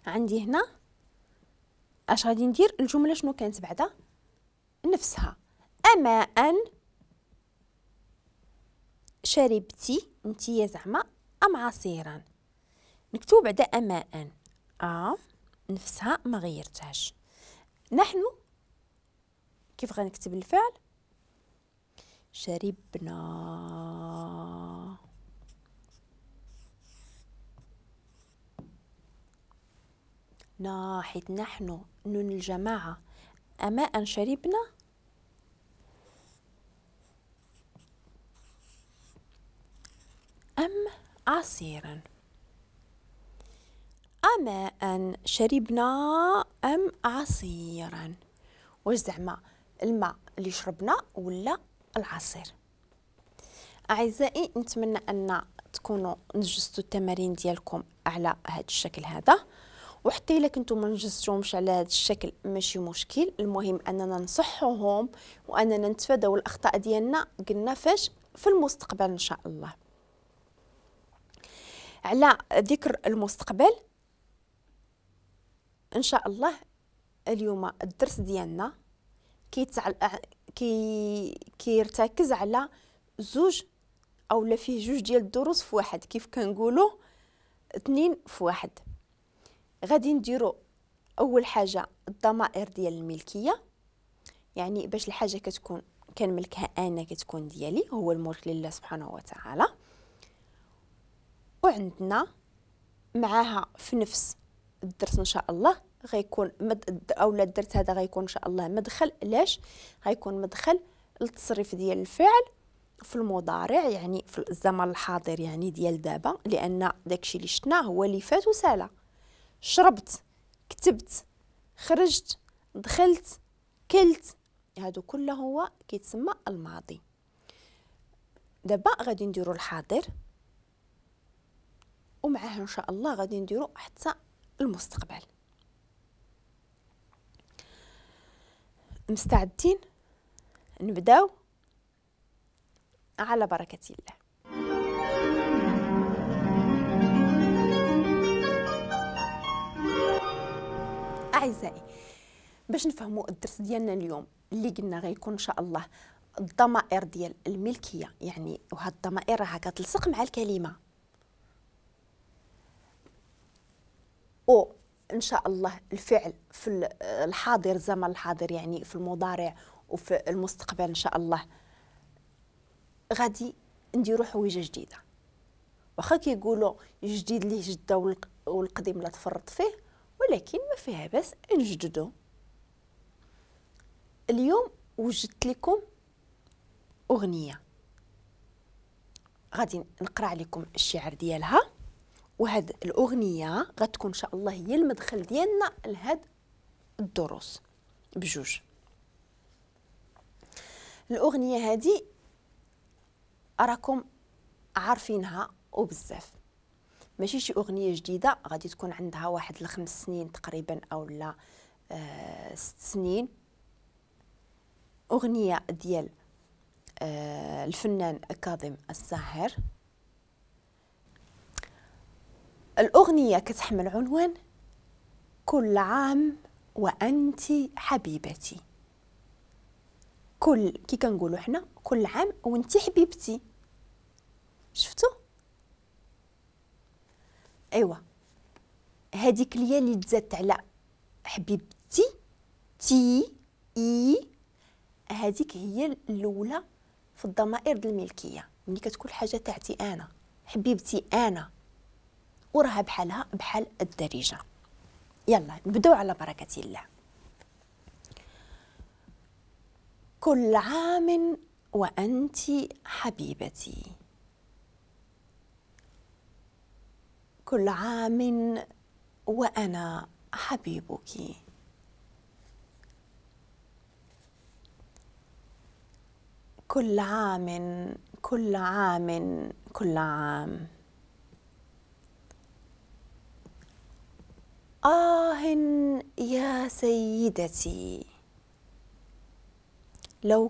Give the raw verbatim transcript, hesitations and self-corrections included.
عندي هنا اش غادي ندير؟ الجملة شنو كانت بعدا؟ نفسها، أما أن شربتي انتيا زعما أم عصيرا، نكتب بعدا أما أن، آ نفسها ما غيرتهاش. نحن كيف غنكتب الفعل؟ شربنا. نا حيت نحن نون الجماعة، أما أن شربنا أم عصيرا، أما أن شربنا أم عصيرا. واش زعما الماء اللي شربنا ولا العصير؟ أعزائي نتمنى أن تكونوا نجزتوا التمارين ديالكم على هذا الشكل هذا، وحتى الا كنتو ما نجزتوهمش على هذا الشكل ماشي مشكل، المهم اننا نصحوهم واننا نتفاداو الاخطاء ديالنا قلنا فاش في المستقبل ان شاء الله. على ذكر المستقبل ان شاء الله اليوم الدرس ديالنا كيتعل... كي كيرتكز على زوج او لا فيه جوج ديال الدروس في واحد، كيف كنقولوا اثنين في واحد. غادي نديرو اول حاجة الضمائر ديال الملكية، يعني باش الحاجة كتكون كنملكها انا كتكون ديالي، هو الملك لله سبحانه وتعالى. وعندنا معاها في نفس الدرس ان شاء الله غيكون مد اولا الدرس هذا غيكون ان شاء الله مدخل، علاش غيكون مدخل للتصريف ديال الفعل في المضارع، يعني في الزمن الحاضر يعني ديال دابا، لان داكشي اللي شفناه هو اللي فات وسالا. شربت، كتبت، خرجت، دخلت، كلت، هادو كله هو كيتسمى الماضي. دابا غادي نديرو الحاضر ومعاه ان شاء الله غادي نديرو حتى المستقبل. مستعدين؟ نبداو على بركة الله. أعزائي باش نفهموا الدرس ديالنا اليوم اللي قلنا غيكون إن شاء الله الضمائر ديال الملكية، يعني وهاد الضمائر راها كتلصق مع الكلمة، أو إن شاء الله الفعل في الحاضر الزمن الحاضر يعني في المضارع وفي المستقبل إن شاء الله غادي نديرو حويجة جديدة. واخا كيقولوا الجديد ليه جدة والقديم لا تفرط فيه، ولكن ما فيها بس نجددو. اليوم وجدت لكم أغنية غادي نقرأ عليكم الشعر ديالها، وهاد الأغنية غتكون إن شاء الله هي المدخل ديالنا لهاد الدروس بجوج. الأغنية هادي أراكم عارفينها وبزاف، ماشي شي أغنية جديدة، غادي تكون عندها واحد الخمس سنين تقريبا أو لا آه ست سنين. أغنية ديال آه الفنان كاظم الساهر. الأغنية كتحمل عنوان كل عام وأنت حبيبتي. كل كي كنقولوا حنا كل عام وانت حبيبتي، شفتوا؟ ايوا هذيك اليا اللي تزادت على حبيبتي تي اي، هذيك هي الاولى في الضمائر ديال الملكية، ملي كتكون حاجة تاعتي انا، حبيبتي انا، وراها بحالها بحال الدارجة. يلا نبداو على بركة الله. كل عام وأنت حبيبتي، كل عام وأنا حبيبك، كل عام كل عام كل عام. آه يا سيدتي لو